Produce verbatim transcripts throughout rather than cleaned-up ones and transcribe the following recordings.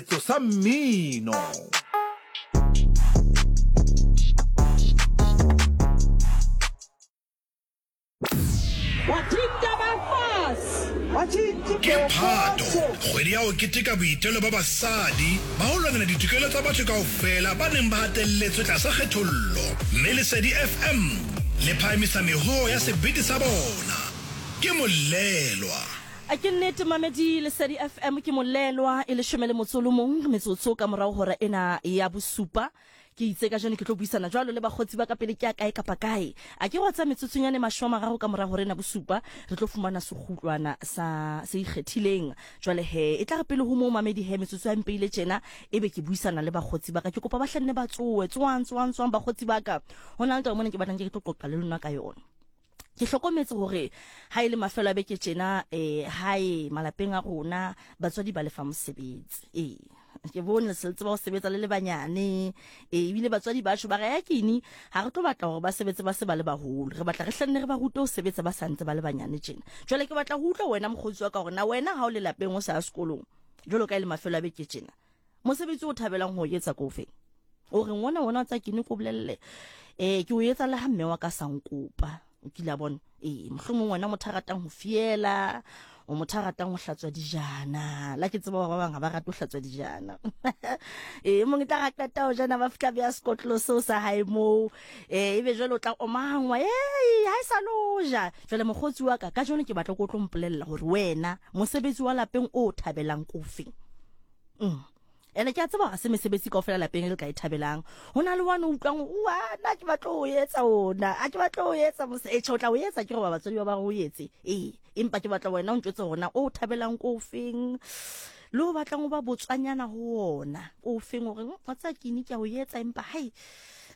Setso sa mmino. Ke Phato, kgwedi ya ho keteka boitelo ba basadi ba ho lwanela ditokelo tsa batho kaofela ba neng ba hatelletswe tlasa kgethollo, mme Lesedi F M le phahamisa mehoo ya sebete sa bona. Ke Molelwa. A ke nnete mamedi Lesedi F M ke Molelwa e leshome le motso o le mong metsotso ka morao hora ena ya bosupa. Ke itse ka jeno ke tlo buisana jwalo le bakgotsi ba ka pele ke ya kae kapa kae. A ke gwa tsa metsotsonyane mashome a mararo ka mora hora ena bosupa re tlo fumana sekgutlwana sa se ikgethileng. Jwale he e tla re pele ho moo mamedi he metsotso ya mpeile tjena ebe ke buisana le bakgotsi ba ka. Ke kopa ba hlanne ba tsoe tswang tswang tswang bakgotsi ba ka. Ho na le taba mona ke batlang ke tlo qoqa le lona ka yona. Ke hlokometse hore ha ile mafelo a beke tjena eh hae malapeng a rona batswadi ba lefa mosebetsi. Eh ke bone le se tseba ho sebetsa le le banyane eh ebile batswadi ba tjho ba re ya kini ha re tlo batla hore ba sebetse ba se ba le baholo, re batla re hlenne re ba rute ho sebetsa ba santse ba le banyane tjena. Jwale ke batla ho utlwa wena mokgotsi wa ka hore na wena ha o le lapeng o sa ya sekolong jwalo ka ile mafelo a beke tjena mosebetsi o thabelang ho etsa ko ofeng? O re ngwana wona tsa kini ko bolelle eh ke o etsa le ha mme wa ka sa nkopa. O kile a bona eh mohlomong wena motho a ratang ho fiela, o motho a ratang ho hlatswa dijana. La ke tseba ba bang ha ba rate ho hlatswa dijana. Eh mong tla ra qeta ho jana ba fihla beya sekotlolo seo sa hae moo. Eh ebe jwale o tla omangwa, eh ha e sa lo ja. Jwale mokgotsi wa ka ka jeno ke batla ko tlo mpolella hore wena mosebetsi wa lapeng o thabelang ko ofeng. Mm. Ene ke a tseba ha se mesebetsi kaofela lapeng le ka e thabelang. Ho na le one o utlwang hore wa nna ke batla ho etsa ona, a ke batla ho etsa mose e tjho o tla o etsa ke re batswadi ba ba re o etse. Eh empa ke batla wena o ntjwetse hore na o thabelang ko ofeng, le o batlang ho ba botswanyana ho ona ko ofeng, hore wa tseba ke ine ke a o etsa empa hai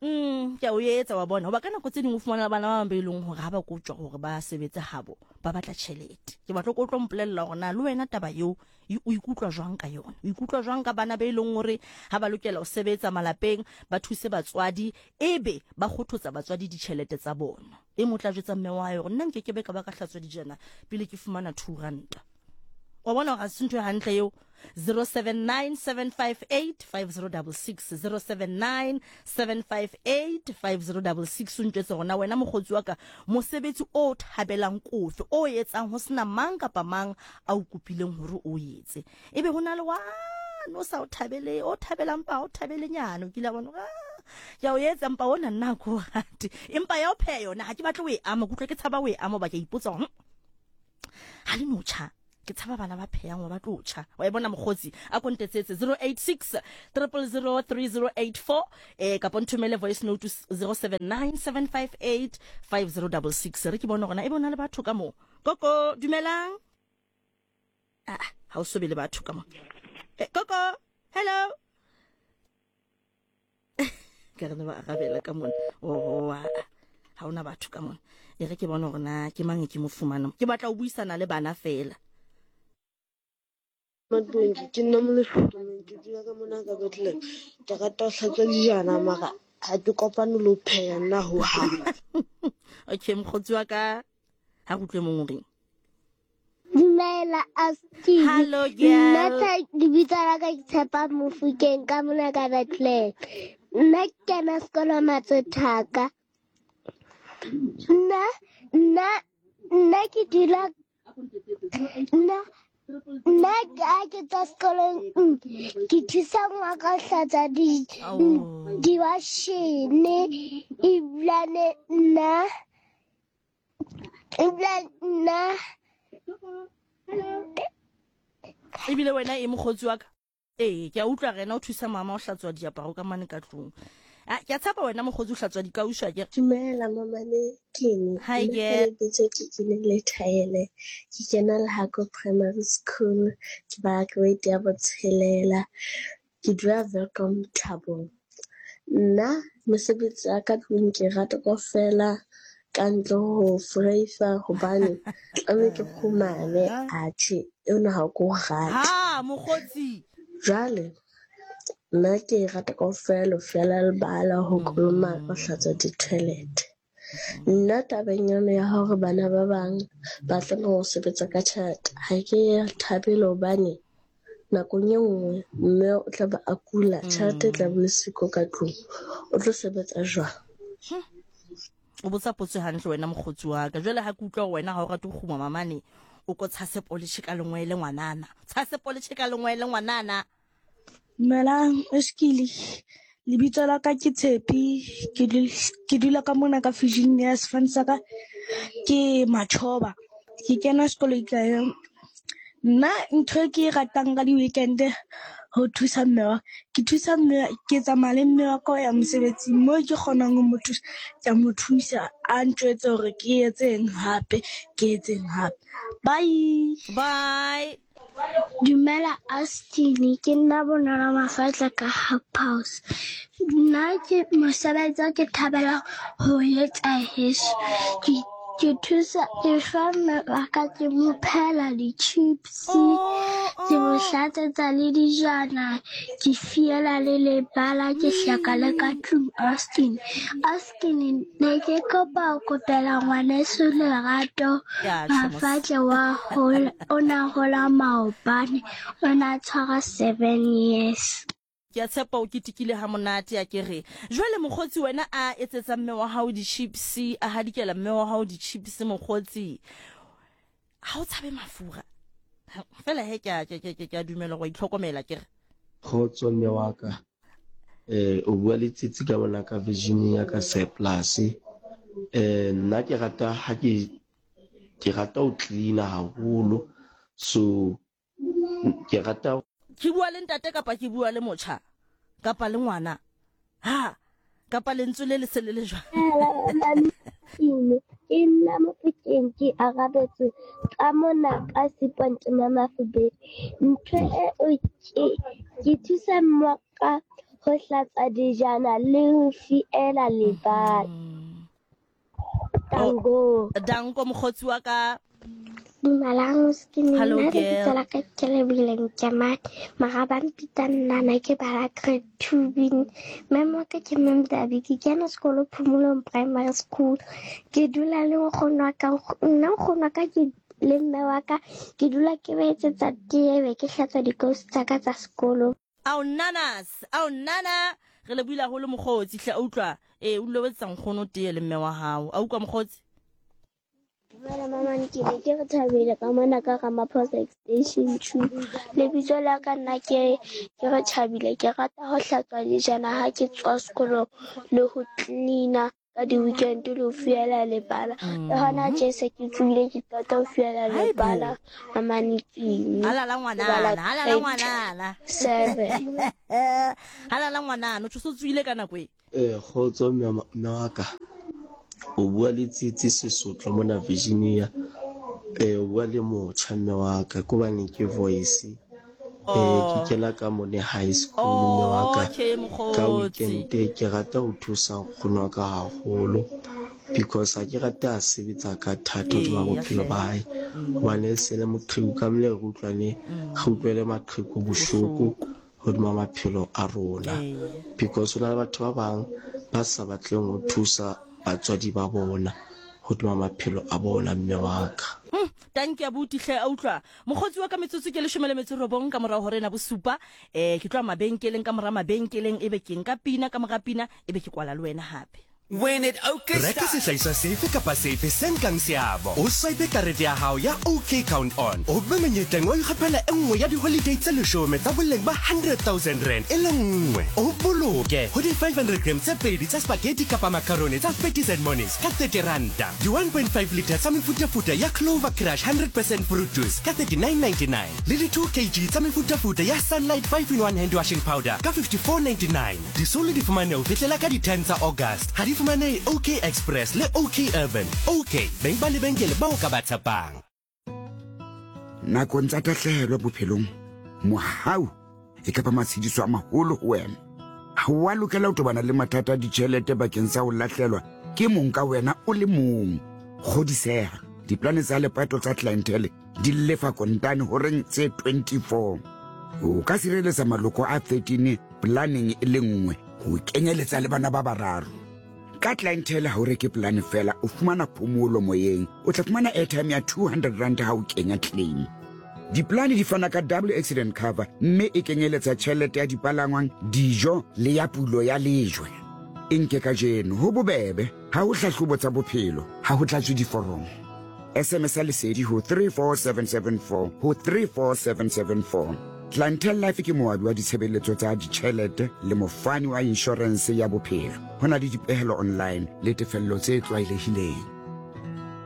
mm ke a o etsa wa bona. Hoba ka nako tse ding o fumana bana ba bang ba e leng hore ha ba kotjwa hore ba sebetse habo ba batla tjhelete. Ke batla ko tlo mpolella hore na le wena taba eo o ikutlwa jwang ka yona, o ikutlwa jwang ka bana ba e leng hore ha ba lokela ho sebetsa malapeng ba thuse batswadi ebe ba kgothotsa batswadi ditjhelete tsa bona. E mo tla jwetsa mme wa hae hore nna nke ke be ka ba ka hlatswa dijana pele ke fumana two ranta. Wa bona hore ha se ntho e hantle eo. zero seven nine seven five eight five zero double six, zero seven nine seven five eight five zero double six. O ntjwetse hore na wena mokgotsi wa ka mosebetsi o thabelang kofe o etsang ho sena mang kapa mang a o kopileng hore o etse, ebe ho na le wa no sa o thabele o thabelang pa o thabele nyane o kile bona ke a o etsa mpa ona nna ko rate empa ya o pheha yona ha ke batle o e ama, ke utlwa ke tshaba o e ama ba ke ipotsa hore ha le no tjha ke tshaba bana ba phehang wa ba tlo tjha. Wa e bona mokgotsi a kontetsetse zero eight six triple zero three zero eight four eh kapa nthomele voice note zero seven nine seven five eight five zero double six. Re ke bona hore na e bona le batho ka mo. Koko dumelang. Ah ha o so be le batho ka mo. Eh, Koko hello. Ke re ne ba arabela ka mona. Oh ha ona batho ka mona. E re ke bona hore na ke mang ke mo fumana. Ke batla ho buisana le bana fela. Madongi ke nna Molefi, ke dula ka mona ka Bethlehem. Ke rata ho hlatswa dijana mara ha ke kopane le ho pheha nna hohang. Okay mokgotsi wa ka ha re utlwe mong o reng. Dumela Asti. Hello girl. Nna lebitso la ka ke Tshepa Mofokeng ka mona ka Bethlehem. Nna ke kena sekolo Matsothaka. Nna nna nna ke dula nna nna ha ke tswa sekolong ke thusa ngwana ho hlatswa di diwashene ebilane nna ebilane nna ebile wena e mokgotsi wa ka. Eh ke a utlwa rena o thusa mama o hlatswa diaparo ka mane ka tlung. Ah ke a tshepa wena mokgotsi o hlatswa dikauso ke. Dumela mama le kene. Hi girl. Ke ke le Thaele. Ke kena Lehako Primary School, ke ba grade ya botshelela. Ke dula Welkom Thabong. Nna mosebetsi wa ka tlung ke rata kaofela ka ntle ho freifa hobane tlameha ke kgumame atjhe eno ha ko rate. Ha mokgotsi. Jwale nna ke rata kaofela ho fiela lebala, ho kolomaka, ho hlatswa di-toilet. Nna tabeng yona ya hore bana ba bang ba tlameha ho sebetsa ka tjhelete ha ke e thabele hobane Nakong e nngwe mme o tla ba a kula, tjhelete e tla be le siko ka tlung. O tlo sebetsa jwang? O botsa potso hantle wena mokgotsi wa ka. Jwale ha ke utlwa hore wena ha o rate ho kguma mamane, o ko tshase poletjhe ka lengwele ngwanana. Tshase poletjhe ka lengwele ngwanana. Dumelang, Eskile. Lebitso la ka ke Tshepi, ke dul- ke dula ka mona ka Virginia, sefane sa ka ke Machoba. Ke kena sekolo Ikaeleng. Nna ntho e ke e ratang ka di-weekend ho thusa mme wa ke thusa mme ke tsamaya le mme wa ka ho ya mosebetsing moo ke kgonang ho mo thusa, ke a mo thusa a ntjwetse hore ke etseng hape, ke etseng hape. Bye. Bye. Dumela Austin, ke nna Bonolo Mafatla ka Hub House. Nna ke mosebetsi o ke thabela ho etsa heso. Ke ke thusa ke fa mme wa ka ke mo phehela di-chips, ke mo hlatsetsa le dijana, ke fiela le lebala, ke hlaka le ka tlung Austin. Austin, ne ke kopa ho kopela ngwaneso Lerato Ya tjho mos. Mafatla wa hola, o na hola maobane, o na tshwara seven years. Ke a tshepa o ketekile ha monate a ke re. Jwale mokgotsi wena a etsetsa mme wa hao di-chips, a hadikela mme wa hao di-chips mokgotsi. Ha o tshabe mafura. Fela he ke a ke ke ke a dumela go itlhokomela ke re. Kgotso mme wa ka. Eh o bua le Tsitsi ka mona ka Virginia ka Surplus. Eh nna ke rata ha ke ke rata ho clean-a haholo. So ke rata Ke bua le ntate kapa ke bua le motjha kapa le ngwana. Ha kapa lentswe le le se le le jwang. Ke nna Mofokeng ke arabetse ka mona ka Seponte Mamafubedi. Ntho eo ke ke thusa mme wa ka ho hlatsa dijana le ho fiela lebala. Tango. Danko mokgotsi wa ka. Dumelang Austin, Hello, nna girl. lebitso la ka ke Lebile Nkemane, mara ba mpitsa Nnana, ke bala grade two B. Mme wa ka ke Mme Mdabi, ke kena sekolo Phomolong Primary School. Ke dula le nkgono wa ka, nna nkgono wa ka ke le mme wa ka, ke dula ke ba etsetsa tee be ke hlatswa dikausu tsa ka tsa sekolo. Ao nanas, ao nana. Re le buile haholo mokgotsi hle a utlwa. Eh o dula o etsetsa nkgono tee le mme wa hao. A utlwa mokgotsi? Dumela mama, ke ne ke re thabile ka mona ka Ramaphosa Extension two. Lebitso la ka nna ke ke re Thabile, ke rata ho hlatswa dijana ha ke tswa sekolong le ho clean-a ka di-weekend le ho fiela lebala. Le hona tje se ke tsohile ke qeta ho fiela lebala mama Nikini. Halala ngwanana, halala ngwanana. Seven. Halala ngwanana, o tso tsohile ka nako e. Eh kgotso mme mme wa ka. O bua le Tsitsi Sesotho mona Virginia. Eh o bua le motjha mme wa ka ke hobane ke voice. Eh ke kena ka mone high school mme wa ka. Okay Ka mokgotsi. weekend ke rata ho thusa nkgono wa ka haholo because ha ke rate a sebetsa ka thata hodima bophelo ba hae. Hobane e se le moqheku ka mmele re utlwane re utlwele maqheku bohloko hodima maphelo a rona. Because ho na le batho ba bang ba sa batleng ho thusa batswadi ba bona hodima maphelo a bona mme wa ka. Hmm, tanki abuti hle a utlwa. Mokgotsi wa ka metsotso ke leshome le metso robong ka morao hore na bosupa. Eh ke tloha mabenkeleng ka mora mabenkeleng ebe ke nka pina ka mora pina ebe ke kwala le wena hape. When it OK Reka sehlahiswa sefe kapa sefe se nkang seabo. O swipe karete ya hao ya OK Count On. O be monyetleng wa ho ikgethela e nngwe ya di-holiday tse leshome tsa boleng ba hundred thousand rand e le nngwe. O boloke ho di five hundred grams tse pedi tsa spaghetti kapa macaroni tsa Fatties and Monies ka thirty ranta. Di one point five liter tsa mefutafuta ya Clover Crush hundred percent fruit juice ka thirty-nine ninety-nine. Le di two kilograms tsa mefutafuta ya Sunlight five in one hand washing powder ka fifty-four ninety-nine. Disolo di fumaneha ho fihlela ka di ten tsa August. Ha di fumanehe OK Express le OK Urban. OK, beng ba lebenkele bao ka ba tshepang. Nakong tsa tahlehelo bophelong, mohau e ka ba matshediso a maholo ho wena. Ha wa lokela ho tobana le mathata a ditjhelete bakeng sa ho lahlelwa ke mong ka wena o le mong. Kgodiseha, diplane tsa lepato tsa clientele di lefa kontane horeng tse twenty-four. O ka sireletsa maloko a thirteen planeng e le nngwe ho kenyeletsa le bana ba bararo. Ka clientele ha o reke plan fela, o fumana phomolo moyeng. O tla fumana airtime ya two hundred rand ha o kenya claim. Diplane di fana ka double accident cover mme e kenyeletsa tjhelete ya dipalangwang, dijo le ya pulo ya lejwe. E nke kajeno ho bobebe, ha ho hlahlobo tsa bophelo, ha ho tlatswe diforomo. S M S ya Lesedi ho three four seven seven four ho three four seven seven four. Clientele Life ke moabi wa ditshebeletso tsa ditjhelete le mofani wa inshorense ya bophelo. Ho na le dipehelo online le tefello tse tlwaelehileng.